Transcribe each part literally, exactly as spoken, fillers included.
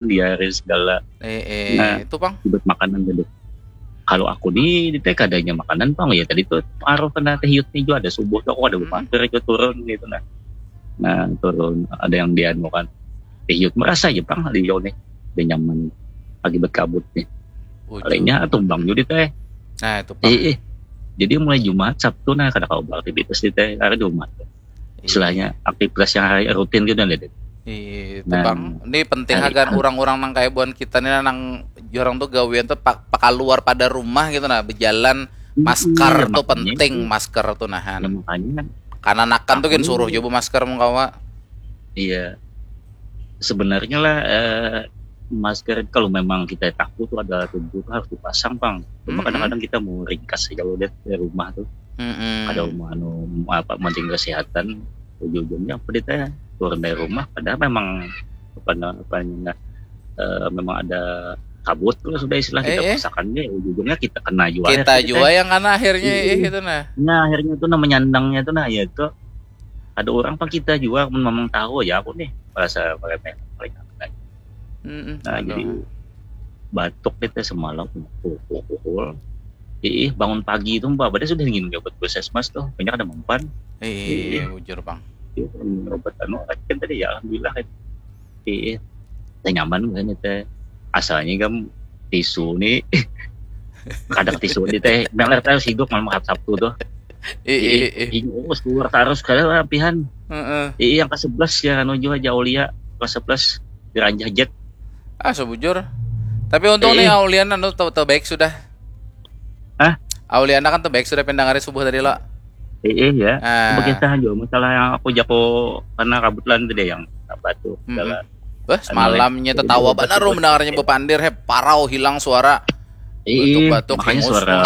diare segala. Eh, eh, nah, itu pang. Buat makanan tadi. Kalau aku nih di teh kadanya makanan pang ya tadi tuh pengaruh kena teh hiut nih juga ada subuh tuh aku ada hmm. Mampir ke turun gitu nah. Nah turun ada yang dianu kan teh hiut merasa aja pang di jauh nih udah nyaman akibat kabut nih. Palingnya tumbang juga teh. Nah itu pang. Eh, eh. Jadi mulai Jumat Sabtu nah kada kau beraktivitas di teh karena di rumah. Istilahnya aktivitas yang hari rutin gitu nih. Iya, nah, bang. Ini penting agar orang-orang nang kayak buan kita nih nang jorang tuh gawian tuh pak pakaluar pada rumah gitu nah berjalan masker iya, tuh penting itu. Masker tuh nahan. Ya, makanya. Karena nakan tuh kan suruh coba masker mengkawa. Iya. Sebenarnya lah eh, masker kalau memang kita takut tuh ada tubuh tuh harus dipasang bang. Cuma mm-hmm. Kadang-kadang kita mau ringkas aja loh deh di rumah tuh. Mm-hmm. Ada mau anu apa penting kesehatan ujung-ujungnya apa dia turun dari rumah padahal memang apa apa uh, memang ada kabut kalau sudah istilah kita eh, eh. Pasakannya ujung-ujungnya kita kena juga kita juga yang kena akhirnya eh, eh, gitu nah. Nah akhirnya itu namanya nyandangnya itu nah ya itu ada orang apa kita juga memang tahu ya aku nih merasa meremeh mereka. Mm-mm, nah aduh. Jadi batuk kita semalam pukul-pukul Ih, bangun pagi itu mbak, pada sudah ingin nyobat puskesmas tuh, banyak ada mempan. Iya, bujur bang. Obat anu kan tadi ya, alhamdulillah kan. Ih, teh nyaman kan teh. Asalnya kan tisu nih, kadang tisu nih teh, meler terus hidup malam Sabtu tuh. Ih, ih, ih. Keluar terus kayak lapihan. Heeh. Ih, yang ke sebelas ya, anu juga Aulia, ke sebelas diranjah jet. Ah, sebujur. Tapi untung nih Aulia anu tau baik sudah. Hah? Auliana kan tuh baik sudah pindah ngari subuh tadi lo. Iya, iya. Ah. Begitu aja masalah yang aku jako karena kebetulan tadi yang apa tuh. Mm-hmm. Wah, semalamnya tetawa benar mendengarnya bepandir he parau hilang suara. Iya, batuk-batuk makanya suara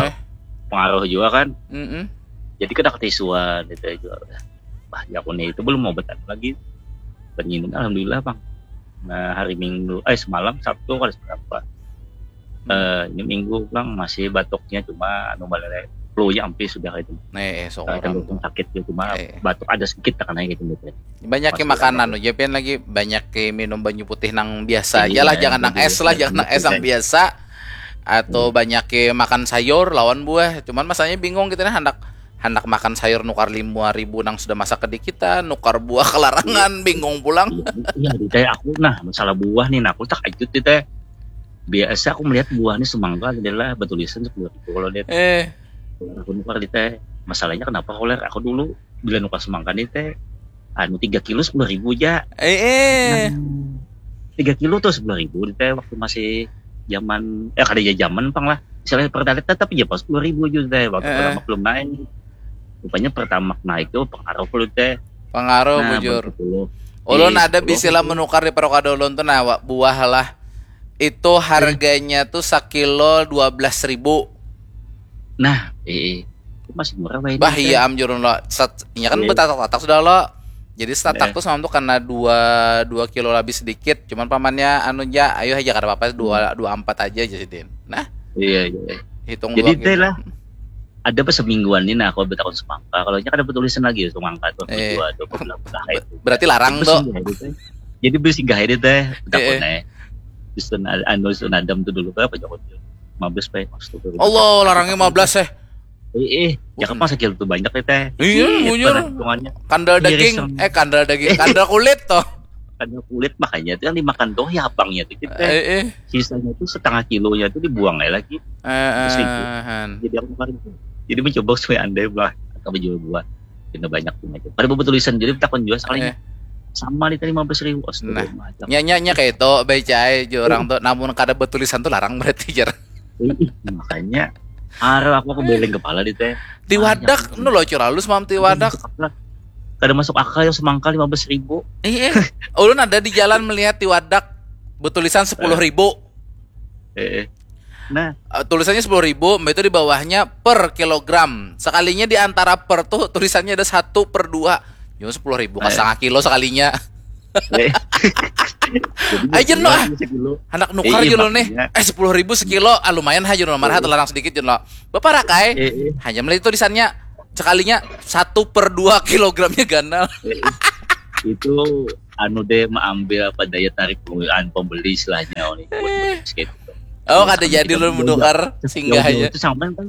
pengaruh juga kan. Mm-hmm. Jadi kena ketisuan itu juga. Bah, ya aku nih itu belum mau betan lagi. Penyimun alhamdulillah, Bang. Nah, hari Minggu, eh semalam Sabtu kali berapa? Uh, ini minggu pulang masih batuknya cuma anu balere flu nya ampi sudah itu. Eh, eh so nah, orang sakit ya cuma eh. Batuk ada sedikit terkena gitu gitu. Banyak yang makan anu japian lagi banyak yang minum banyu putih nang biasa iya, aja lah jangan nang es lah jangan nang es yang biasa atau hmm. Banyak yang makan sayur lawan buah cuman masanya bingung gitu nah hendak hendak makan sayur nukar lima ribu nang sudah masak ke kita nukar buah kelarangan bingung pulang. Iya, iya, kayak aku nah masalah buah nih nah aku tak ajut gitu biasa aku melihat buahnya semangka adalah bertulisan sepuluh ribu kalau dia eh. Aku nukar di teh masalahnya kenapa koler aku dulu bila nukar semangka nih teh anu tiga kilo sepuluh ribu aja eh, eh. Nah, tiga kilo tuh sepuluh ribu di teh waktu masih zaman ya kada ya zaman pang lah misalnya pertalite tetap aja pas sepuluh ribu aja teh waktu eh. Pertama belum naik rupanya pertama naik tuh pengaruh lu teh pengaruh nah, bujur ulun eh, ada bisilah menukar di perokadolon tuh nah buah lah itu harganya tuh sakilo dua belas ribu. Nah, eh, eh. Masih murah bah. Bah iya am jurun lo. Sat, iya kan iya. Betatak-tatak sudah lo. Jadi setatak eh. Tuh sama tuh karena dua dua kilo lebih sedikit. Cuman pamannya anu ja, ayo aja kada apa-apa dua hmm. Dua empat aja aja sidin. Nah. Iya iya. Hitung jadi teh lah. Ada pas semingguan ini nah aku bertakun semangka. Kalau nya kada bertulisan lagi ya semangka tuh eh. Dua dua belas. Berarti larang tuh. Jadi beli singgah ini teh. Takutnya. Dusun anu dusun adam tuh dulu berapa jauh tuh? Mabes baik maksud tuh. Allah larangnya mabes eh. Eh, eh, jangan pas sakit tuh banyak ya teh. Iya, bujur. Kandal daging, eh kandal daging, kandal kulit toh. Kandal kulit makanya itu yang dimakan tuh ya abangnya tuh kita. Eh, eh. Sisanya tuh setengah kilonya tuh dibuang ya lagi. Eh, eh. Jadi aku kemarin tuh. Jadi mencoba supaya andai lah atau menjual buah. Kena banyak tuh aja. Pada buku tulisan jadi takon juga sekalinya. Eh. Sama di tadi lima belas ribu. Nah, nyanya kayak itu baca aja orang tuh namun kada bertulisan tuh larang berarti jar. Makanya arah aku aku beling kepala di teh. Tiwadak, nu lo curalus mam tiwadak. Kada masuk akal yang semangka lima belas ribu. Iya, ulun ada di jalan melihat tiwadak bertulisan sepuluh ribu. Eh. Nah, uh, tulisannya sepuluh ribu, itu di bawahnya per kilogram. Sekalinya di antara per tuh tulisannya ada satu per dua. Yo sepuluh ribu ka setengah kilo sekalinya. Aja no ah. Anak nukar iya, gitu nih. Eh sepuluh ribu sekilo, ah, lumayan aja no marah telarang sedikit no. Bapak rakai, eh, eh. Hanya melihat tulisannya sekalinya satu per dua kilogramnya ganal. Eh, itu anu deh, mengambil apa, daya tarik pembeli, anu, pembeli istilahnya, oh, nih, buat Eh. Basket itu. Oh, Terus kada sampai jadi jauh-jauh, ulun menukar jauh-jauh singgah aja. Itu sampai kan,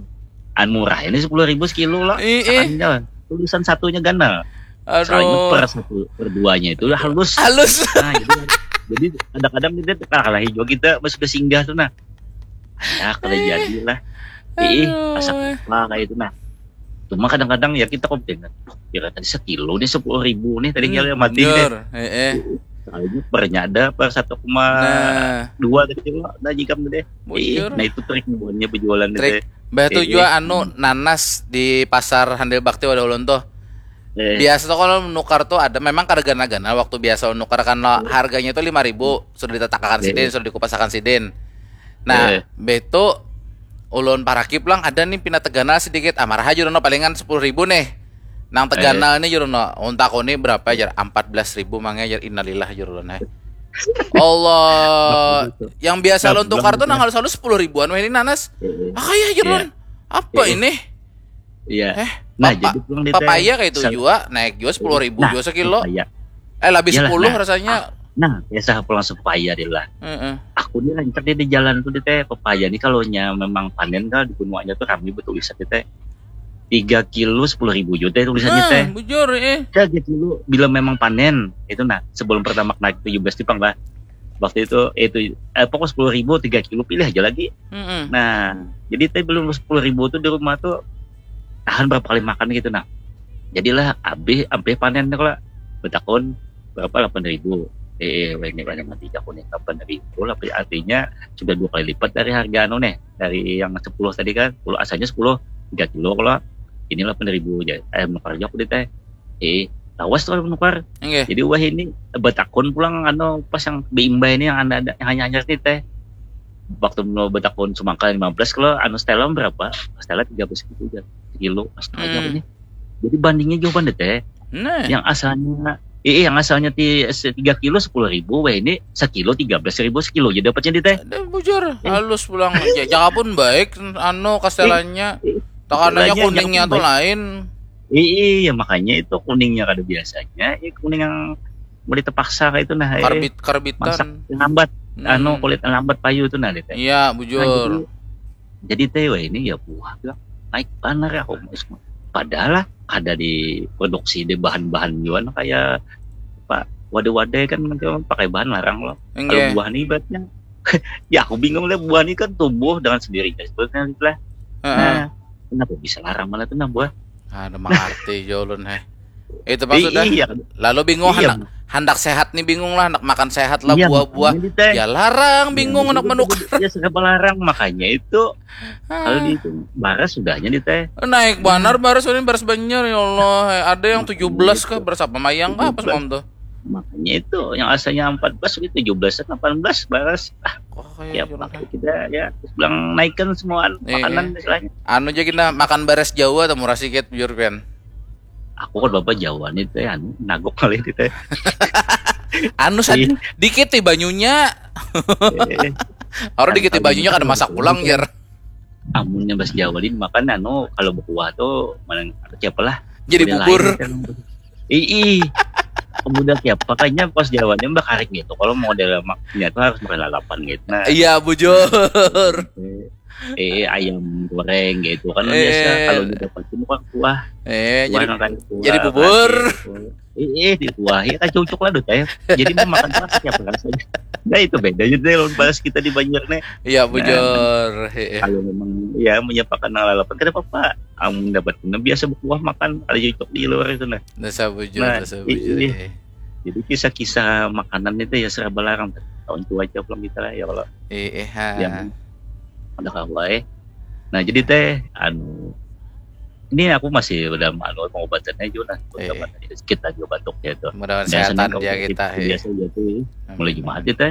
anu, murah ini sepuluh ribu sekilo lah. Ih, ih. Misalkan jalan, tulisan satunya ganal. Soalnya per Aduh. Satu, per duanya itu udah halus. Halus. Nah, jadi, jadi kadang-kadang kita tuh kalah juga kita pas sudah singgah tuh, nah. Ya, kada jadi lah. Ih, Aduh. Rasa apa kayak itu, nah. Cuma kadang-kadang ya kita komplain. Kira tadi sekilo nih sepuluh ribu nih tadi Hmm, kira mati nih. Bujur. Eh, eh. Soalnya pernya ada per satu koma Nah, dua gitu lah, ada jikam deh. Bujur. Ih, nah itu trik buatnya penjualan Trik. Deh. Bah tu Eh, jua eh. Anu nanas di pasar Handil Bakti wadah ulun tuh. Eh, Biasa tuh kalau menukar tuh ada memang kada gana-gana waktu biasa menukar kan lo, harganya tuh lima ribu sudah ditatakan Eh. sidin, sudah dikupasakan sidin. Nah, Eh. Betu ulun parakip lang ada nih pina teganal sedikit. Ah, marah aja Rono palingan sepuluh ribu nih. Nang teganal nih Rono, untak ini berapa aja? Empat belas ribu mangnya aja, innalillah aja Rono. Allah, yang biasa lo tukar tuh nang halus-halus sepuluh ribuan weh ini nanas. Ah, kayak aja Rono. Apa ini? Iya. Eh, Nah, papa- jadi pulang di papaya teh, kayak itu sel- juga naik juga sepuluh ribu Nah, juga sekilo. Papaya. Eh, lebih Iyalah, sepuluh nah. Rasanya. Nah, biasa pulang sepaya dia lah. Heeh. Aku ni rancak dia di jalan tuh di teh, pepaya ni kalau nya memang panen kan di gunung aja tuh rame betulisan di teh. Tiga kilo sepuluh ribu juga teh tulisannya Nah, teh. Bujur eh. Tiga kilo bila memang panen itu, nah, sebelum pertama naik tujuh belas tipang lah. Waktu itu itu eh, pokok sepuluh ribu tiga kilo pilih aja lagi. Heeh. Nah, jadi teh belum sepuluh ribu tuh di rumah tuh tahan berapa kali makan gitu, nah. Jadilah habis, habis panen tuh lah. Betakun berapa, delapan ribu. Eh, eh, ini banyak mati aku nih, delapan ribu lah, artinya sudah dua kali lipat dari harga anu nih, dari yang sepuluh tadi kan, sepuluh asalnya sepuluh, tiga kilo kalau ini delapan ribu aja. Ayam nukar aja aku di teh. Eh, lawas tuh kalau nukar. Enggak. Jadi wah ini betakun pulang anu pas yang beimbai ini yang ada, ada yang hanya hanya ini teh. Waktu mau betakun semangka lima belas kalau anu setelan berapa? Setelan tiga belas gitu aja. Kilo, astaga Hmm. ini. Jadi bandingnya jawaban deh teh. Nah, Yang asalnya eh, yang asalnya ti tiga kilo sepuluh ribu, wah ini sekilo tiga belas ribu sekilo aja dapatnya di teh. Ada Bujur, Eh. Halus pulang. Ja- Jaga pun baik, anu kastelannya. Eh, Takananya kastelannya kuningnya jaga tuh baik. Lain. Iya, makanya itu kuningnya kada biasanya. Eh, kuning yang mulai terpaksa kayak itu nah. Eh, Karbit karbitan. Masak lambat, Hmm. Anu kulit lambat payu itu nah di teh. Iya, Nah, Bujur. jadi, jadi teh wah ini ya buah bilang naik banar ya aku. Padahal lah ada di produksi di bahan-bahan jual kayak apa, wadah-wadah kan macam pakai bahan larang loh. Kalau Enggak. Buah nih ibaratnya ya aku bingung lah, buah nih kan tumbuh dengan sendirinya sebetulnya gitu lah. Heeh. Nah, kenapa bisa larang malah tuh nah buah? Ada mengerti jolun heh. Itu Eh, maksudnya. Iya, Lalu bingung Iya. hendak, hendak sehat nih bingung lah, hendak makan sehat lah Iya, buah-buah. Makanya di teh. Ya larang bingung Iya, hendak itu menukar. Dia serba larang makanya itu. Kalau Ah, di itu baras sudahnya di teh. Naik banar baras ini baras banjar ya Allah. Ada yang tujuh belas kah, baras apa mayang kah apa semalam tuh? Makanya itu yang asalnya empat belas itu tujuh belas, delapan belas baras. Ah, Oh, ya kayak jolun pakai heh. Kita ya terus bilang naikkan semua anu, Iya. Makanan istilahnya. Anu aja kita makan baras Jawa atau murah sikit Bujur pian. Aku kan bapak Jawa nih teh, anu nagok kali di teh. Anu sad Iya. Dikit nih banyunya. Eh, Orang dikit nih Kalau banyunya gitu kada masak kalau pulang gitu. Jer. Amunnya bahasa Jawa ini makan anu kalau berkuah tuh mana siapa lah? Jadi Model bubur. Lain, kan. Ii, model siapa kayaknya pas Jawanya mbak karik gitu. Kalau model maknya tuh harus makan lalapan gitu. Nah, Iya Bujur. eh, eh, ayam goreng gitu kan Eh, biasa eh. Kalau udah dapat itu bukan kuah. Eh, Kuah jadi nang kayak kuah, jadi bubur. Gitu. Eh, eh, di kuah ya kan cocok lah deh teh. Jadi mau makan apa siapa rasanya. Nah itu bedanya deh lawan baras kita di Banjar nih. Iya Bujur. Heeh. Kalau memang ya menyiapkan nang lalapan kada apa-apa. Amun dapat kena biasa berkuah makan ada cocok di luar itu nah. Dasar Bujur, Nah, dasar i- Bujur. iya. Eh. Jadi kisah-kisah makanan itu ya serba larang tahun tua aja pulang kita lah ya kalau Eh, eh, ha. yang ada kawa eh. Nah jadi teh anu ini aku masih dalam anu pengobatannya juga nah Eh. Pengobatannya kita juga batuk ya itu. Mudah-mudahan Biasanya sehatan kalau dia kita kita. Eh. Biasa aja tuh mulai Amin. Jumat kita.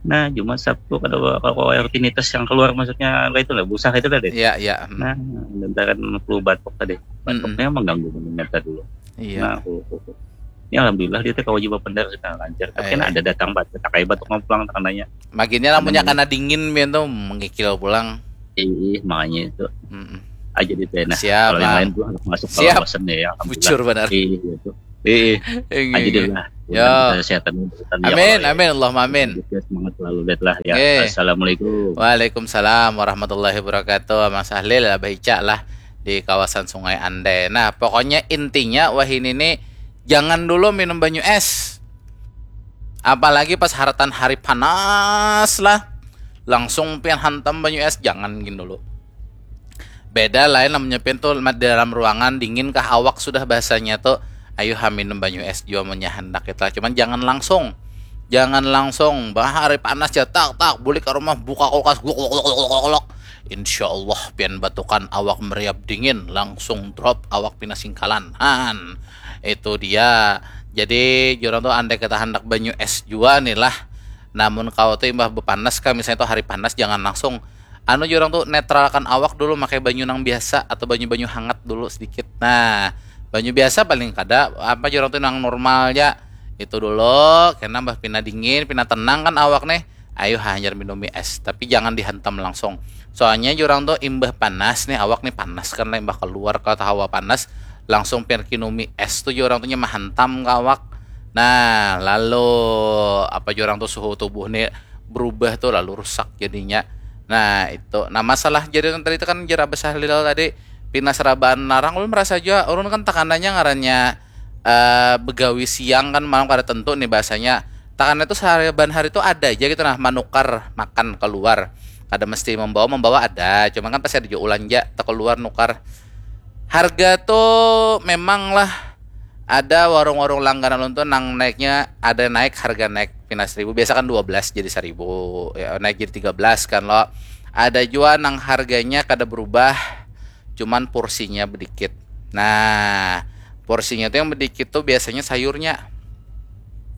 Nah Jumat Sabtu kada kalau rutinitas yang keluar maksudnya kayak itu lah busah itu tadi. Iya, iya. Hmm. Nah, lantaran flu batuk tadi. Batuknya mengganggu mengingat dulu. Iya. Nah, aku, aku, aku. Ini alhamdulillah dia teh kawa jua banar sudah lancar. Tapi kan Eh. Ada datang batuk, tak kayak batuk mau pulang tekananya. Makinnya lamunnya Ada kena dingin pian tuh mengikil pulang. Ih, makanya itu Mm-mm. Aja di teh. Nah, Siap, kalau yang Bang. Lain tuh harus masuk Siap. Kawasan ya, alhamdulillah. Bujur benar. Iya itu. Eh, eh. Aja deh lah. Ya. Kesehatan. Amin, amin, Allahumma amin. Semangat selalu, Bet lah ya. Assalamualaikum. Waalaikumsalam warahmatullahi wabarakatuh. Mas Ahlil, Abah Ica lah di kawasan Sungai Andai. Nah, pokoknya intinya wahini ini jangan dulu minum banyu es. Apalagi pas haratan hari panas lah. Langsung pian hantam banyu es, jangan gin dulu. Beda lain namanya pian tuh di dalam ruangan dingin kah awak sudah bahasanya tuh. Ayo ha minum banyu es jua munnya handak kita. Cuman jangan langsung. Jangan langsung. Bah hari panas ya tak tak bulik ke rumah buka kulkas glok glok glok glok glok. Insya Allah pian batukan awak meriap dingin langsung drop awak pina singkalan. Han. Itu dia. Jadi jurang tuh andai kita handak banyu es jua nih lah. Namun kau tuh imbah bepanas kah misalnya tuh hari panas jangan langsung anu jurang tuh netralkan awak dulu pakai banyu nang biasa atau banyu-banyu hangat dulu sedikit. Nah, banyu biasa paling kada apa jurang tuh nang normal aja. Itu dulu karena mbah pina dingin, pina tenang kan awak nih. Ayo hanyar minumi es, tapi jangan dihantam langsung. Soalnya jurang tuh imbah panas nih, awak nih panas kan lah imbah keluar ke hawa panas, langsung perkinumi es tuh jurang tuh mahantam ke awak. Nah, lalu apa jurang tuh suhu tubuh nih berubah tuh lalu rusak jadinya. Nah, itu. Nah, masalah jadi tadi itu kan jera besar Lila tadi pina serabaan larang ulun merasa juga ulun kan tekanannya ngarannya eh begawi siang kan malam kada tentu nih bahasanya. Tekanannya tuh sehari ban hari tuh ada aja gitu nah manukar makan keluar. Kada mesti membawa membawa ada, cuman kan pasti ada juga ulanja tak keluar nukar. Harga tuh memang lah ada warung-warung langganan ulun tuh nang naiknya ada naik harga naik pina seribu biasa kan dua belas jadi seribu ya naik jadi tiga belas kan lo. Ada juga nang harganya kada berubah cuman porsinya bedikit. Nah, porsinya tuh yang bedikit tuh biasanya sayurnya.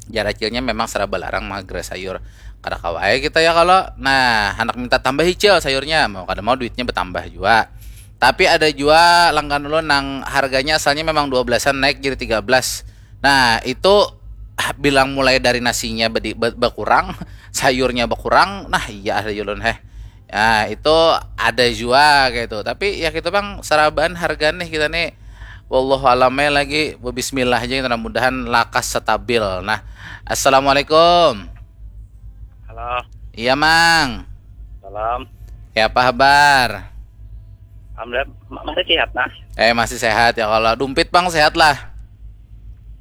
Jar acilnya memang seraba larang magra sayur. Kada kawa kita ya kalau nah anak minta tambah icil sayurnya mau kada mau duitnya bertambah juga. Tapi ada juga langgan ulun nang harganya asalnya memang dua belasan naik jadi tiga belas. Nah, itu ah, bilang mulai dari nasinya bedi, be, berkurang, sayurnya berkurang. Nah, iya ada ulun heh. Ya, itu ada juga kayak itu. Tapi ya kita bang saraban harga nih kita nih. Wallahu alam lagi bismillah aja kita mudahan lakas stabil. Nah, assalamualaikum. Halo. Iya, Mang. Salam. Ya apa kabar? Alhamdulillah ma- masih sehat nah. Eh, masih sehat ya kalau dumpit, Bang, sehat lah.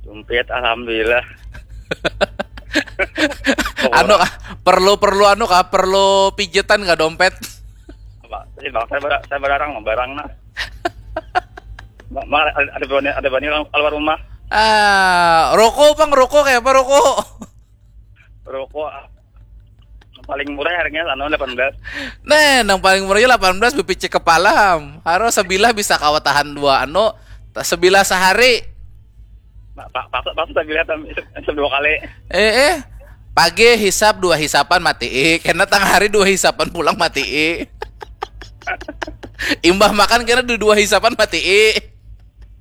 Dumpit alhamdulillah. Anu kah? Perlu perlu anu kah? Perlu pijetan kah dompet? Apa? Sih bang saya bar- saya barang barang nah. Ma- ma- ada ada bani ada bani orang keluar rumah. Ah, rokok, Bang, rokok kayak apa rokok? Rokok ah, paling murah harganya anu delapan belas. Nah, yang paling murahnya delapan belas bepicik kepala, Ham. Harus sebilah bisa kawa tahan dua anu, ta- sebilah sehari. Nah, pak pak pak saya bilang tam- itu itu dua kali. Eh, eh. Pagi hisap dua hisapan mati. Kena tengah hari dua hisapan pulang mati. Imbah makan kena dua hisapan mati.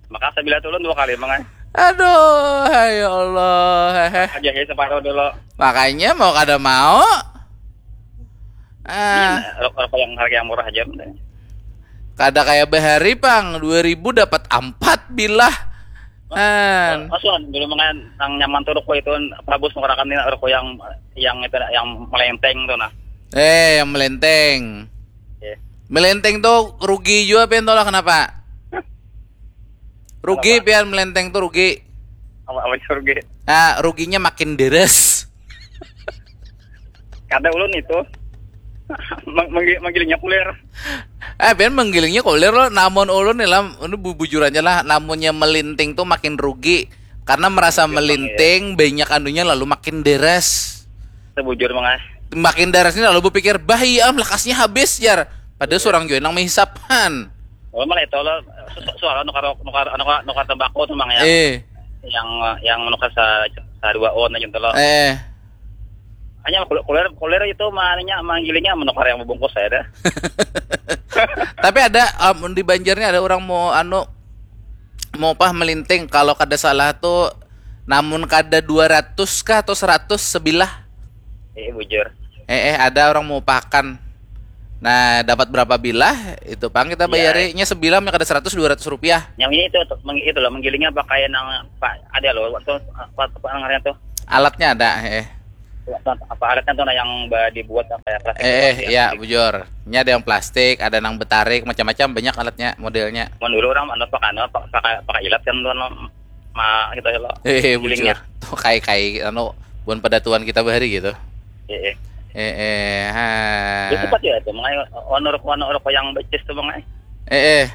Maka saya bilang tulun dua kali mangai. Aduh, ya Allah. Hehe. Aja ya separuh dulu. Makanya mau kada mau. Ah, Rokok rokok yang harga yang murah aja. Kada kayak bahari, Pang. Dua ribu dapat empat bilah. Kan. Masuan dulu mangai yang nyaman tuh rokok itu bagus menggerakkan ini rokok yang yang itu yang melenteng tuh nah. Eh, yang melenteng. Iya. Melenteng tuh rugi juga pian tuh lah kenapa? Rugi pian melenteng tuh rugi. Apa apa rugi? Nah, ruginya makin deres. Kada ulun itu. Meng- menggi- Menggiringnya kulir. Eh, pian menggilingnya kulir loh. Namun ulun nih lah, ini bu- bujur aja lah. Namunnya melinting tuh makin rugi karena merasa melinting banyak anunya lalu makin deres. Sebujur mangai. Makin deres ini lalu berpikir, bah iya am lekasnya habis jar. Padahal seorang juga nang menghisapkan. Oh malah itu lo su- suara nukar nukar nukar nukar tembakau tuh mang ya. Eh, Yang yang menukar sa sa dua on aja tuh lo. eh. Hanya kulir kulir kulir itu maninya manggilingnya menukar yang membungkus saya dah. Tapi ada um, di Banjar nih ada orang mau anu mau pah melinting kalau kada salah tuh namun kada dua ratus kah atau seratus sebilah. Iya bujur. Eh eh ada orang mau pakan. Nah, dapat berapa bilah, itu pang kita Iya. bayarinya sebilah yang kada seratus dua ratus rupiah. Yang ini tuh, tuh, meng- itu loh, menggilingnya pakai nang, Pak, ada loh, waktu, apa, apa ngarannya tuh? Alatnya ada, eh. Apa alatnya tuh, nah, yang ba- dibuat kayak plastik Eh, eh, gitu ya, bujur. Ini ada yang plastik, ada nang betarik, macam-macam banyak alatnya, modelnya. Mun dulu orang anu pakai anu, pakai pakai ilat kan tuh, anu, ma gitu ya lo. Eh, eh, Gilingnya. Bujur. Tuh kai-kai anu buan pada tuan kita bahari gitu. Iya. Eh, eh, ha. Itu cepat ya itu, mengai honor honor yang becis tuh, mengai. Eh, eh.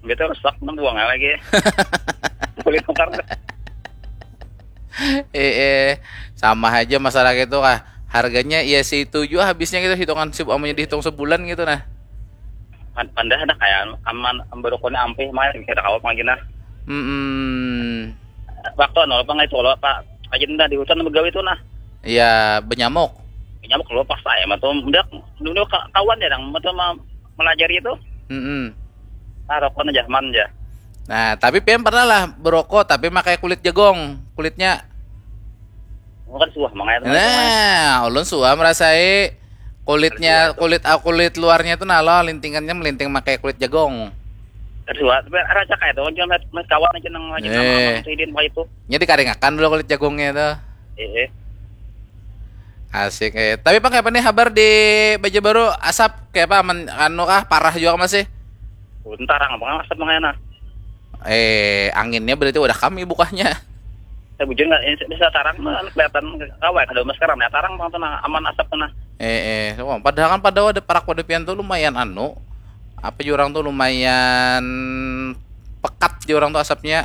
Gitu rusak, nang buang lagi. Boleh tukar. Eh, eh. Sama aja masalah gitu kah. Harganya ya situ juga habisnya gitu, hitungan si amunnya dihitung sebulan gitu nah. Pan- Pandah ada kayak aman, berukun ampih, main kita kawa lagi nah. Hmm. Waktu anu apa ngai itu lo, Pak, aja dah di hutan begawi tuh nah. Ya, benyamuk. Nyamuk lo pas saya mah tuh, udah dulu ka- kawan ya, nang mah tuh ma- melajari itu. Hmm. Ah, rokok aja, man aja. Nah, tapi pian pernah lah berokok tapi pakai kulit jagong, kulitnya. Bukan suah, mengai itu. Nah, ulun suah merasai kulitnya, kulit ah, kulit luarnya itu nalo lintingannya melinting pakai kulit jagong. Kan suah, tapi raja kayak itu, cuma mas kawan aja nang lagi Eh. Sama sama sidin, pakai itu. Jadi karingakan dulu kulit jagongnya itu. Eh, eh. Asik eh. Tapi pakai apa nih habar di Baja Baru, asap kayak apa, aman anu kah, parah juga masih? Bentar, apa ngasap mengai nah. Eh, anginnya berarti udah kami bukanya. Saya bujur nggak, ini bisa tarang mah, kelihatan kawa kada masker, nah tarang bang tuh nah, aman asap tuh nah. Eh, eh, wah, padahal kan pada ada parak pada pian tuh lumayan anu, apa jurang tuh lumayan pekat jurang tuh asapnya.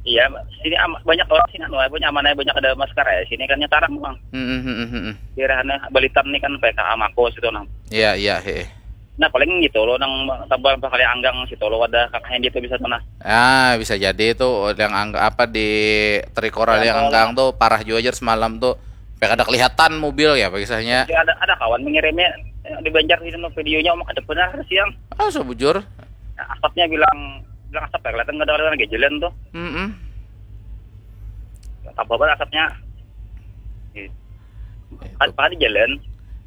Iya, sini am- banyak orang sini anu, punya aman aja, banyak ada masker ya. Sini kan tarang bang. Hmm, hmm, hmm, hmm, hmm. Daerahnya Balitan nih kan P K A Mako situ nah. Iya, iya, heeh. Nah paling gitu loh, nang tambah bakal anggang situ loh, ada kakak yang gitu bisa tuh nah. Ah, bisa jadi itu yang angga apa di Trikora yang Yang anggang tuh parah juga aja semalam tuh. Sampai kada kelihatan mobil ya, kisahnya. Jadi ada ada kawan mengirimnya, eh, di Banjar gitu, videonya om ada benar siang. Ah, sebujur. Nah, asapnya bilang bilang asap ya, kelihatan nggak ada orang lagi jalan tuh. Mm-mm. Tambah banget asapnya. Kan pada jalan.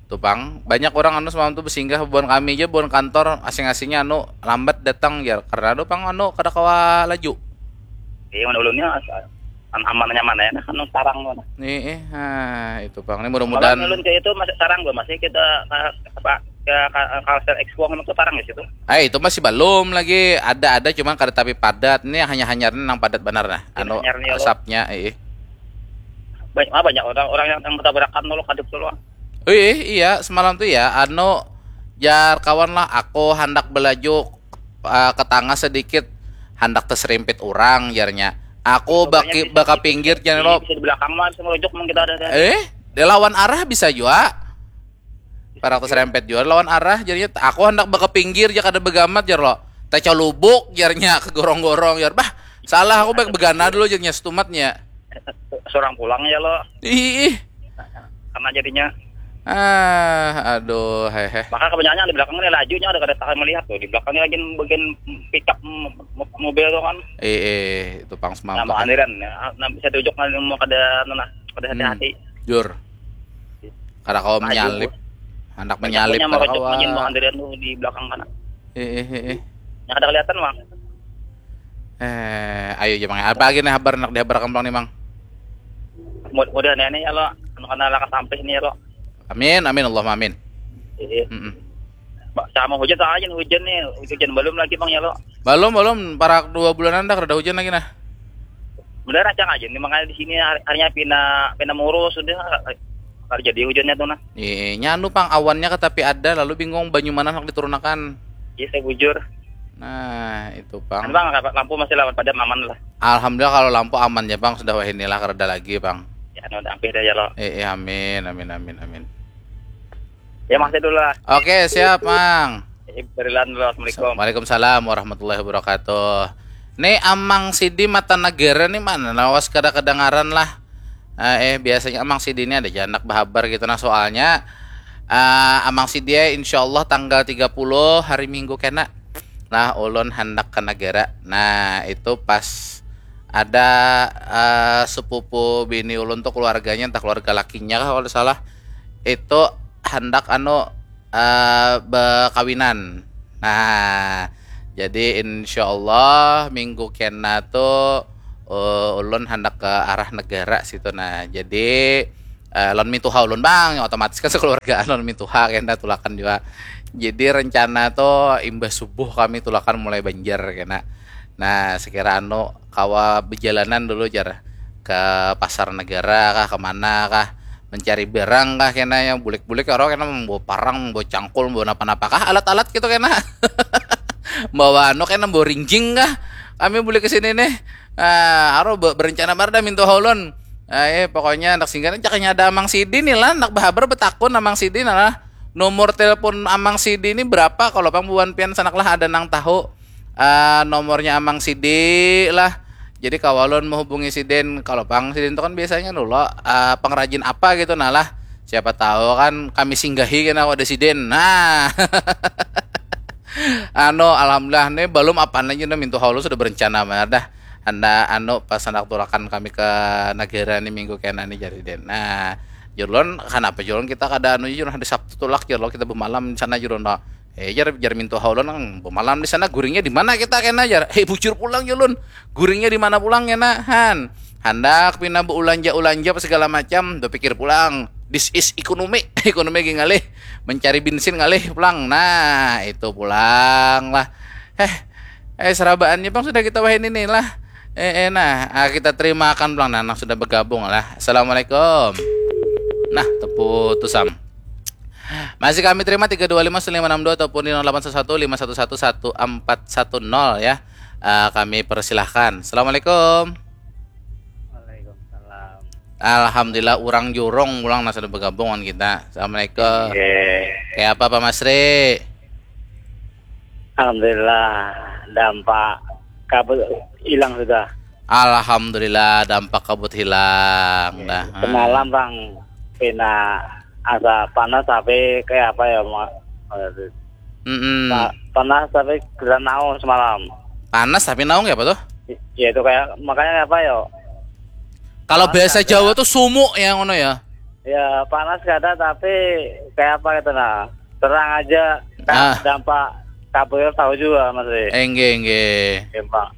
Tuh pang, banyak orang anu semalam tuh bersinggah buan kami aja, buan kantor asing-asingnya anu lambat datang ya karena anu pang anu kada kawa laju. Iya, mana ulunnya an- aman nyaman ya, nah kan tarang tuh. Nih, eh, ah, itu pang. Ini Malah mudah-mudahan. Ulun kayak itu masih tarang gua, masih kita ke apa ke ke Kalsel Expo itu tarang di situ. Eh, itu masih belum lagi. Ada ada cuman kada tapi padat. Ini hanya hanya nang padat benar nah. Anu Hanyar nih, ya, lo. Asapnya, eh. Banyak ah, banyak orang orang yang, yang bertabrakan dulu kadep dulu. Eh, iya, semalam tuh ya, anu jar kawan lah, aku hendak belaju eh, ke tengah sedikit, hendak terserimpit orang jarnya. Aku baki baka pinggir jar lo. Bisa di belakang mah bisa merujuk, emang kita ada ada. Eh, dia lawan arah bisa juga. Parak terserimpit juga lawan arah jadinya. Aku hendak baka pinggir aja kada begamat jar lo. Tecolubuk jarnya ke gorong-gorong jar. Bah, salah aku baik begana dulu jarnya setumatnya. Seorang pulang ya lo, Ih, ih. Karena jadinya Ah, aduh, hehe. Maka kebanyakan di belakang ini lajunya ada kada tahan melihat tuh, di belakangnya lagi bagian pickup mo- mo- mobil tuh kan. Eh, eh, itu pang semampu. Nama andiran ya, nah, bisa diujuk kan mau kada anu nah, kada hati-hati. Jur. Kada kau menyalip. Hendak menyalip Punya kada merujak kawa. Mau andiran tuh di belakang kan. Eh, eh, eh, eh. Yang ada kelihatan bang. Eh, ayo aja mang. Apa lagi nih habar nak dihabarkan bang nih mang? Mud- Mudah nih nih ya lo, anu kena lakas sampai sini ya lo. Amin, amin, Allahumma amin. Iya. Mm-mm. Ba- Sama hujan, sama aja hujan nih, hujan belum lagi bang ya lo. Belum, belum. Parak dua bulanan dah kada hujan lagi nah. Bener aja aja nih, makanya di sini hari- harinya pina pina murus sudah, kalau jadi hujannya tuh nah. Iya, nyanu pang awannya katapi ada, lalu bingung banyu mana nak diturunakan. Iya saya bujur. Nah, itu Kan pang. bang, lampu masih lawan pada aman lah. Alhamdulillah kalau lampu aman ya bang, sudah wahini lah kada lagi bang. Ya anu, hampir dah ya lo. Eh, eh, amin, amin, amin, amin. Ya makasih dulu lah. Oke, siap mang. Eh, berilan dulu, assalamualaikum. Waalaikumsalam warahmatullahi wabarakatuh. Nih Amang Sidi Mata Negara nih mana lawas kada kedengaran lah. Eh, eh, biasanya Amang Sidi ini ada janak bahabar gitu nah soalnya eh, Amang Sidi ya insyaallah tanggal tiga puluh hari Minggu kena lah ulun handak ke negara. Nah, itu pas ada eh, sepupu bini ulun tuh keluarganya entah keluarga lakinya kah kalau salah itu handak anu uh, bekawinan. Nah, jadi insya Allah minggu kena tu uh, ulun hendak ke arah negara situ. Nah, jadi uh, lon mintuha ulun bang, otomatis kan sekeluargaan lon mintuha kena tulakan juga. Jadi rencana tu imbah subuh kami tulakan mulai banjar kena. Nah, sekira anu kawa bejalanan dulu jar ke pasar negara kah, kemana kah, mencari barang kah kena yang bulik-bulik orang kena membawa parang, membawa cangkul, membawa napa-napa kah, alat-alat gitu kena. Bawa anu kena, membawa rinjing kah. Kami bulik ke sini nih. Ah, aro be- berencana banar dah mintu haulun. Ah, eh, pokoknya anak singgah caknya ada Amang Sidi nih lah, nak berhabar betakun Amang Sidi nah lah. Nomor telepon Amang Sidi ini berapa kalau pang buan pian sanak lah ada nang tahu. Ah, nomornya Amang Sidi lah. Jadi kawalun menghubungi Sidin kalau pang Sidin itu kan biasanya dulu ah, pengrajin apa gitu nah lah. Siapa tahu kan kami singgahi kena wadah Sidin. Nah. Anu alhamdulillah nih belum apa aja nih mintu haulu sudah berencana mana dah. Anda anu pas anak tulakan kami ke negara nih minggu kena nih jadi den. Nah, jurlon kenapa jurlon kita kada anu jurlon hari Sabtu tulak jurlon kita bermalam di sana jurlon. Eh, jar jar mintu haulun nang bemalam di sana guringnya di mana kita kena jar. Hei bujur pulang ya lun. Guringnya di mana pulang kena han. Handak pina beulanja-ulanja apa segala macam, berpikir pulang. This is ekonomi, ekonomi lagi ngalih mencari bensin ngalih pulang. Nah, itu pulang lah. Heh, eh serabaannya bang sudah kita wahin ini lah. Eh, eh nah, ah, kita terima akan pulang nah, nang sudah bergabung lah. Assalamualaikum. Nah, terputus am. Masih kami terima tiga dua lima sembilan enam dua ataupun di nol delapan satu satu lima satu satu satu empat satu nol ya. Eh, kami persilahkan. Assalamualaikum. Waalaikumsalam. Alhamdulillah orang jurong pulang nasa bergabung dengan kita. Assalamualaikum. Oke. Kayak apa Pak Masri? Alhamdulillah dampak kabut hilang sudah. Alhamdulillah dampak kabut hilang dah. Semalam bang pina asa panas tapi kayak apa ya ma- Mm-mm. pa- panas tapi kita naung semalam. Panas tapi naung ya apa tuh? Ya itu kayak makanya apa ya? Kalau Panas bahasa ada. Jawa tuh sumuk ya ngono ya. Ya panas kada tapi kayak apa gitu nah. Terang aja kan Ah. Dampak kabut tahu juga masih. Enggih enggih. Ya, Bang.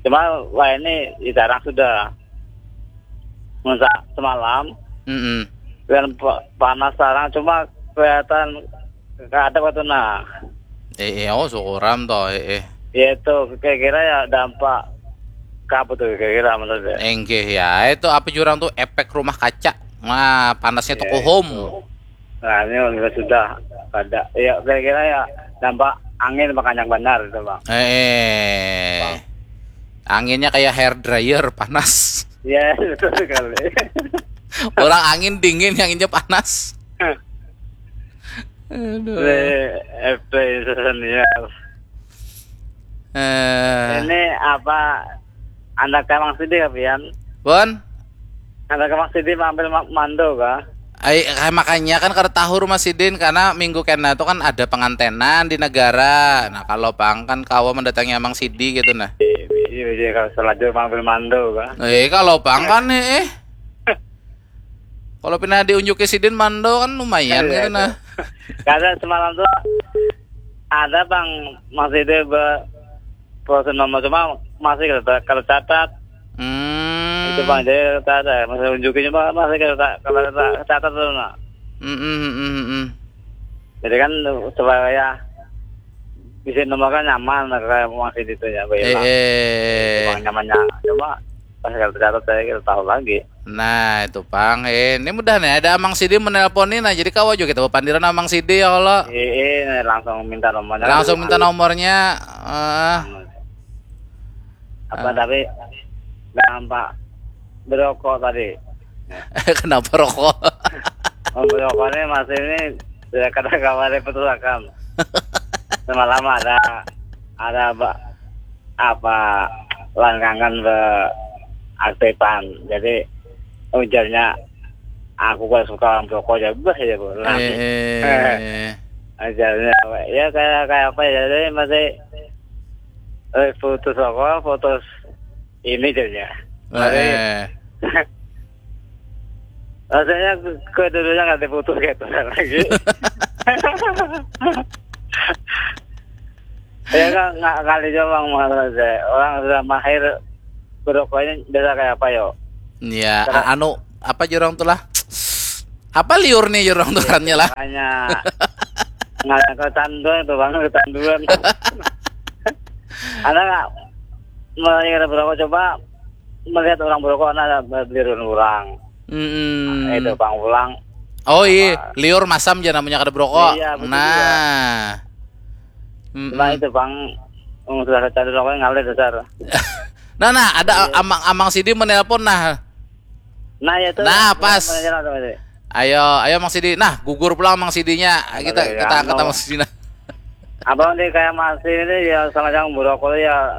Cuma wah ini ya, jarang sudah. Masa semalam Mm-mm. dan pa- panas sekarang cuma kelihatan kada waktu nah. Eh, eh, oh syukuran toh, eh, eh. Ya itu kira-kira ya dampak kabut tuh kira-kira menurut saya. Enggih ya, itu apa jurang tuh efek rumah kaca. Nah, panasnya tuh kohom. Nah ini juga sudah ada. Ya kira-kira ya dampak angin makanya benar itu bang. Eh, anginnya kayak hair dryer panas. Ya betul sekali. Orang angin dingin, anginnya panas. Aduh. Play, eh, play senior. Eh, Ini apa? Anak emang sedih ya Pian? Bon, Anak emang sedih ambil ma- mando kah? ai, kayak makanya kan kada tahu rumah sidin karena minggu kena itu kan ada pengantenan di negara. Nah, kalau pang kan kawa mendatangi Amang Sidi gitu nah. Iya, iya kalau selanjut ambil mando kah? Eh, kalau pang kan eh, eh. Kalau pina diunjuki sidin mando kan lumayan Iya, gitu nah. Karena semalam tuh ada bang masih dia ber proses nomor cuma masih kalau kalau catat Hmm. itu bang jadi catat masih unjukin cuma masih kalau tak kalau tak catat tuh nah. Mm, mm, mm, mm, mm. Jadi kan supaya bisa nomor kan nyaman kayak masih itu ya Eh, baiklah. eh. Bang nyamannya cuma pas kalau catat saya kita tahu lagi. Nah, itu pang. Eh, ini mudah nih ada Amang Sidi menelpon nih. Nah, jadi kawa juga kita pandiran Amang Sidi ya kalau Iya, iya, langsung minta nomornya. langsung minta nomornya. Eh, Apa tapi nampak berokok tadi. Kenapa rokok? Oh, berokoknya masih ini sudah kada kabar putusakan. Semalam ada ada apa, apa langkangan beraktifan. Jadi ujarnya aku gak suka orang berokok ya bah ya bu. Eh, eh. Ujarnya ya kayak kayak apa ya jadi masih eh, putus rokok putus ini jadinya. Masih Eh. Rasanya ke dulunya nggak diputus kayak itu lagi. Ya kan, nggak kali juga bang, masalah saya. Orang sudah mahir berokoknya biasa kayak apa yo? Ya, a- anu apa jurang tuh lah? Apa liur nih jurang turannya lah? Hanya nggak ada kecanduan itu bang, kecanduan. Ada nggak, mulai ada berokok, coba melihat orang berokok, ada beli orang. Mm-mm. Itu bang pulang. Oh iya, liur masam aja namanya kada berokok. Iya, betul Nah. Mm-mm. Nah itu bang, um, sudah kecanduan rokoknya ngalir dasar. Nah, nah, ada amang-amang Sidi menelpon nah. Nah ya itu. Nah, pas. Mana jalan tuh, Mas? Ayo, ayo Mang Sidi. Nah, gugur pulang Mang Sidinya. Kita Iya, kita angkat anu. Mang Sidi nah. Abang nih kayak masih ini ya, sama yang berokok ya,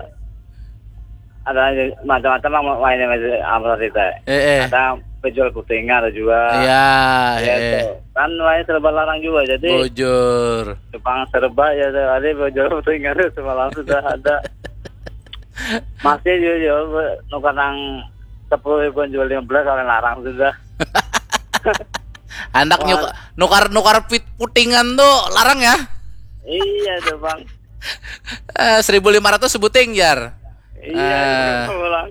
ada macam-macam lah mainnya, Mas, apa kita. Eh, eh. Ada penjual putingan ada juga. Iya, Ya, eh. tuh. Kan lain serba larang juga, jadi Bujur. Jepang serba ya tuh. Ada penjual putingan tuh semalam sudah ada. Masih juga jual nukar nang sepuluh ribuan jual lima belas, oleh larang sudah. Anak nyuk- nukar nukar pit- putingan tuh larang ya. Iya tuh bang. Eh, seribu lima ratus sebuting jar. Iya, Ah. pulang.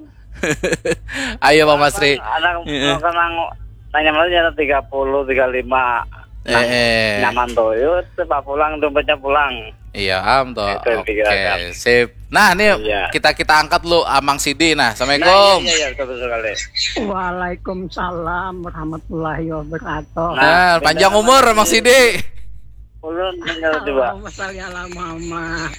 Ayo Bang Masri. Ada Iya. nukar nang nanya malu ya tiga puluh, tiga lima. Eh, eh. Nyaman tuh, yuk, cepat pulang, dompetnya pulang. Iya, am tuh. Itu yang Oke, pikiran. Sip. Nah, ini Iya. kita kita angkat lu Amang Sidi. Nah, Nah, assalamualaikum. Iya, iya, iya, betul, betul sekali. Waalaikumsalam warahmatullahi wabarakatuh. Nah, panjang beda umur sama Amang si- Sidi. Ulun tinggal coba. Allahumma sholli ala Muhammad.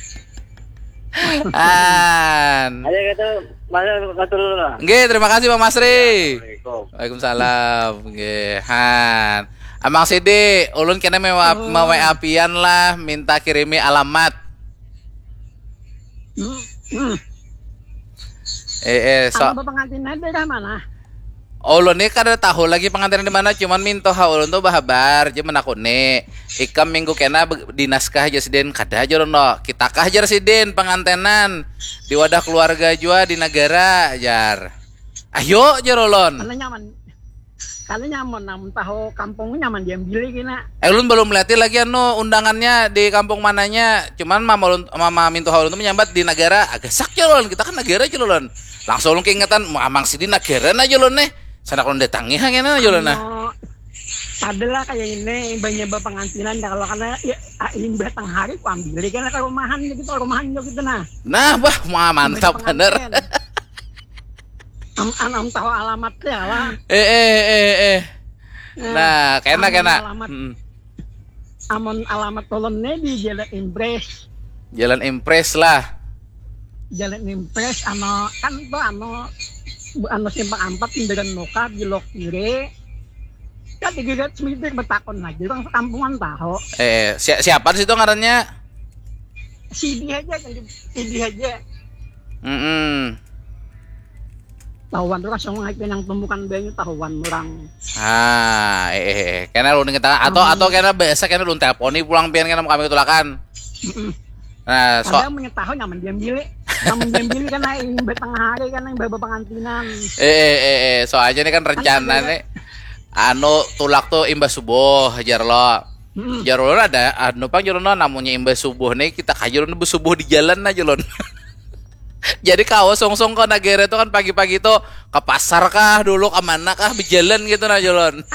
An. Ayo kita masuk masuk dulu lah. Nggih, terima kasih Bang Masri. Assalamualaikum. Waalaikumsalam. Nggih, han. Amang Sidi, ulun kena mewa mewa apian lah, minta kirimi alamat. Hmm, hmm. Eh, eh, so, Apa pengantinnya daerah mana? Ulun ni kada tahu lagi pengantin di mana, cuman minto ha ulun tu bahabar, je menakuni. Ikam minggu kena be- dinas kah aja sidin, kada aja ulun lo. Kita kah ajar sidin pengantenan di wadah keluarga jua di negara jar. Ayo jar ulun. Karena nyaman. Karena nyaman, namun tahu kampung nyaman diambil kena. Eh, ulun belum lihat lagi anu undangannya di kampung mananya. Cuman mama ulun, mama minto ha ulun tu menyambat di negara. Agak sak jar ulun, kita kan negara aja ulun. Langsung ulun keingetan, "Mu Amang Sidi negara aja ulun nih. Sanak ulun datangi ha kena aja ulun nah." Anu, adalah kayak ini banyak pengantinan dah kalau karena ya ah, limbah tengah hari ku ambil kan ke rumahan gitu, rumahan gitu nah. Nah, bah, ma- mantap Pengantin. bener. Am anam tahu alamatnya lah. Eh, eh, eh, eh. Nah, kena Amun kena. Alamat, Mm-mm. Amun alamat ulun nih di Jalan Impres. Jalan Impres lah. Jalan Impres anu kan tuh anu anu simpang empat, kendaraan muka belok kiri. Kan tiga ratus meter bertakun lagi orang sekampungan tahu. Eh, si- siapa di situ ngarannya? Sidi aja kan, Sidi aja. Mm-mm. Tahuan tuh langsung naik pinang tumbukan banyu tahuan orang. Ah, eh, eh, eh. Kena ulun kita atau atau kena biasa kena ulun teleponi pulang pian kena kami ketulakan. Mm-mm. Nah, so Padahal mengetahui nyaman diambil. Namun diambil kan naik imbah tengah hari kan yang bawa pengantinan. eh, eh, eh, eh, soalnya ini kan rencana nih anu tulak tuh imbah subuh jar lo. Mm-mm. Jar ulun ada anu pang jar ulun, namunnya imbah subuh nih kita kajar ulun besubuh di jalan aja ulun. Jadi kawa sungsung ke negara itu kan pagi-pagi tuh ke pasar kah dulu ke mana kah berjalan gitu nah jar ulun.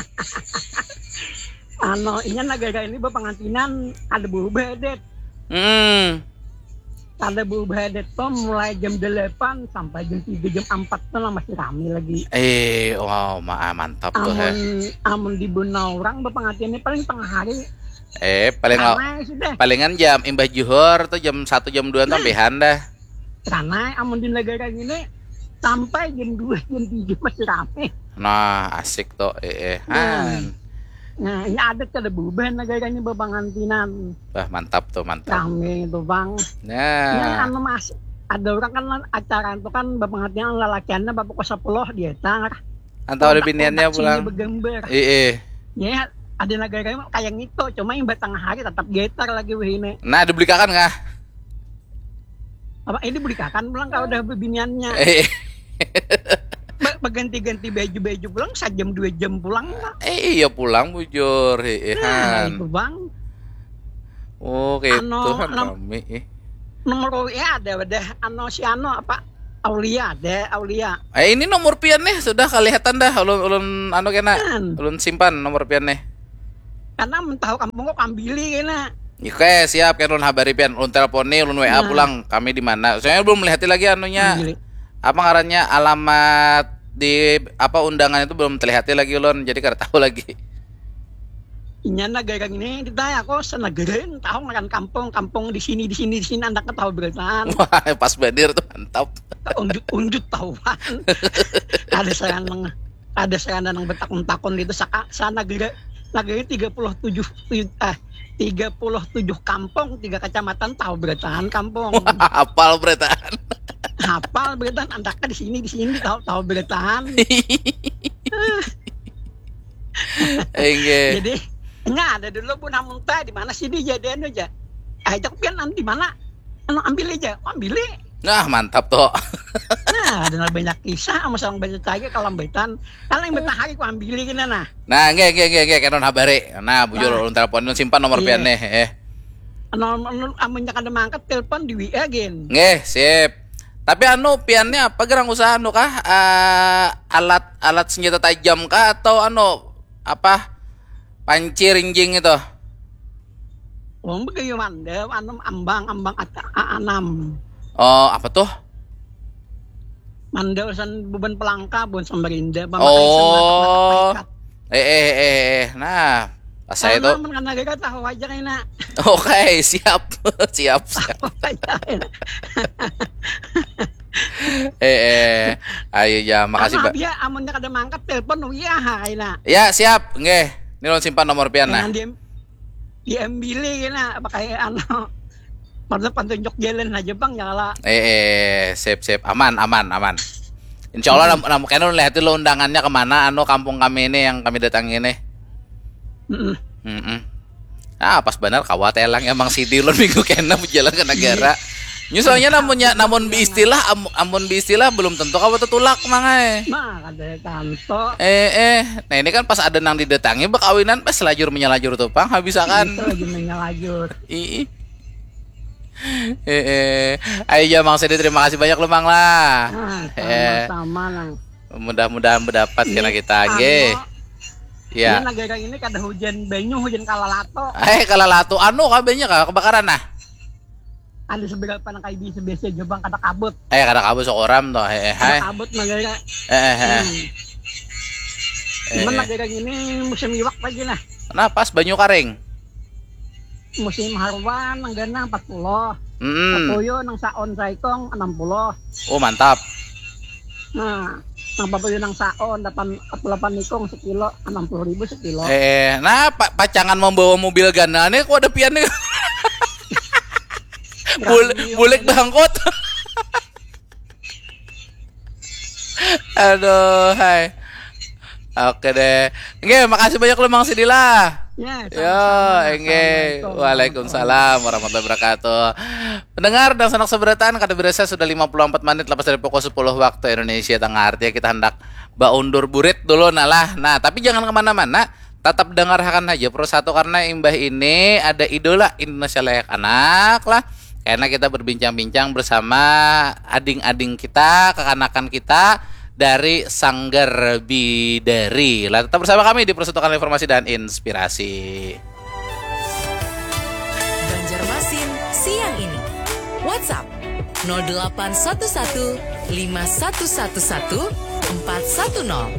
Anu, inya negara ini berpengantinan ada berubah adat. Hmm. Ada berubah adat tuh mulai jam delapan sampai jam tiga, jam empat tuh lah masih rame lagi. Eh, wow, ma mantap tuh heh. Amun amun di Buna orang berpengantinan ini paling tengah hari. Eh, paling Ramai sudah. Palingan jam imbah juhur tuh jam satu jam dua tuh ambihan dah. Karena amun di negara ini sampai jam dua, jam tiga masih rame. Nah, asik tuh. Eh, eh. Han. Nah, ini adat kada berubah negara ini berpengantinan. Wah, mantap tuh, mantap. Rame itu, Bang. Ini Nah, anu Mas, ada orang kan acara itu kan berpengantinan lalakiannya bapak ke sepuluh dia tar. atau ada biniannya pulang. Bergambar. Eh, eh. Ya, ada negara kayak gitu, cuma yang batang hari tetap getar lagi weh ini. Nah, dibelikakan kah? Apa ini belikan pulang kalau udah bebiniannya. Eh, Be- Berganti-ganti baju-baju pulang sejam dua jam pulang lah. eh, iya pulang bujur. Eh, eh, Nah, Han. itu bang. Oh, kayak Anu, Tuhan anu. Rame eh. Nomor W A ada wadah. Anu si anu apa? Aulia ada, Aulia. Eh, ini nomor pian nih sudah kelihatan dah ulun ulun anu kena Kan. Ulun simpan nomor pian nih. Karena mun tahu kampung kok kambili kena. Oke, siap kan ulun habari pian, ulun telepon nih, ulun W A Nah. pulang kami di mana. Soalnya belum melihat lagi anunya. Kambili. Apa ngarannya alamat di apa undangan itu belum terlihat lagi ulun, jadi kada tahu lagi. Inya negara ini kita aku senegara tahu ngaran kampung, kampung di sini di sini di sini andak tahu berataan. Wah, pas bandir tuh mantap. Unjut unjut tahuan. Ada saya nang ada saya nang bertakun-takun itu saka sana negara negara tiga puluh tujuh eh tiga puluh tujuh kampung, tiga kecamatan tahu berataan kampung. Apal berataan. Hafal berataan andak di sini di sini tahu tahu berataan. Enggak. Jadi nya ada dulu pun hamunta di mana sih dijadian aja. Ajak pian nanti mana? Anu ambil aja, ambil. Nah, mantap tuh. Nah, ada banyak kisah sama sama banyak lagi kalau baitan. Kalau yang betahari ku ambil gini nah. Nah, enggak enggak enggak enggak kanon habari. Nah, bujur ulun telepon ulun simpan nomor pian nih. Eh. Anu anu amunnya kada mangkat telepon di W A gin. Nggih, sip. Tapi anu piannya apa gerang usaha anu kah? Eh, alat alat senjata tajam kah atau anu apa? Panci rinjing itu. Wong begayu mandel anu ambang ambang ata anam. Oh, apa tuh? Mandel san beban pelangka bun Samarinda Oh. Eh eh eh eh. Nah, pas saya itu. Kan negara tahu aja kena. Oke, siap. Siap, siap. Eh eh. Ayo ya, makasih, Apa Mbak. Dia amunnya kada mangkat telepon W A ha kena. Ya, siap. Nggih. Ini ulun simpan nomor pian nah. Jangan di diambil kena pakai anu. Pada pantunjuk jalan aja bang ya lah. Eh, eh, sip sip, aman aman aman. Insya Allah nam, nam, kena lihat dulu undangannya kemana anu kampung kami ini yang kami datangi ini. Mm-mm. Mm-mm. Ah, pas benar kawa telang emang sidi ulun minggu kena berjalan ke negara. Nyu soalnya namunnya namun biistilah am- amun biistilah belum tentu kawa tetulak mangai. Nah, kada tanto. Eh eh, nah ini kan pas ada nang didatangi bekawinan pas lajur menyalajur tuh pang habis akan. Itu lagi menyalajur. Ih. Eh eh, ayo ya Mang Sedi terima kasih banyak lu Mang lah. Nah, Eh, sama-sama nang. Mudah-mudahan mendapat kena Ini kita nggih. anu, Ya. Ini negara ini kada hujan banyu, hujan kalalato. Eh kalau latu anu kabanya kah kebakaran nah. Ada seberapa nang kayak biasa-biasa aja bang kada kabut. Eh kada kabut sekoram tuh. Eh eh Kada hai. Kabut negara. Eh eh eh. Hmm. Eh, Cuman eh. Negara ini musim iwak lagi nah. Nah pas banyu karing. Musim haruan nang ganang empat puluh. Hmm. Papuyu nang saon saikong enam puluh. Oh mantap. Nah, nang papuyu nang saon delapan delapan ikong sekilo enam puluh ribu sekilo. Eh, nah pa- pacangan membawa mobil ganal nih kok ada pian nih. Bul- bulik bangkot. Aduh, hai. Oke deh. Oke, makasih banyak lu Mang Sidila. Ya, Yo, enggih. Waalaikumsalam warahmatullahi wabarakatuh. Pendengar dan sanak seberataan kada berasa sudah lima puluh empat menit lepas dari pukul sepuluh waktu Indonesia Tengah. Artinya kita hendak baundur burit dulu nah lah. Nah, tapi jangan kemana-mana. Tetap dengarkan aja Pro Satu karena imbah ini ada idola Indonesia layak anak lah. Karena kita berbincang-bincang bersama ading-ading kita, kekanakan kita dari Sanggar Bidari. Lah tetap bersama kami di Persatukan Informasi dan Inspirasi. Banjarmasin siang ini. WhatsApp nol delapan satu satu lima satu satu satu empat satu nol.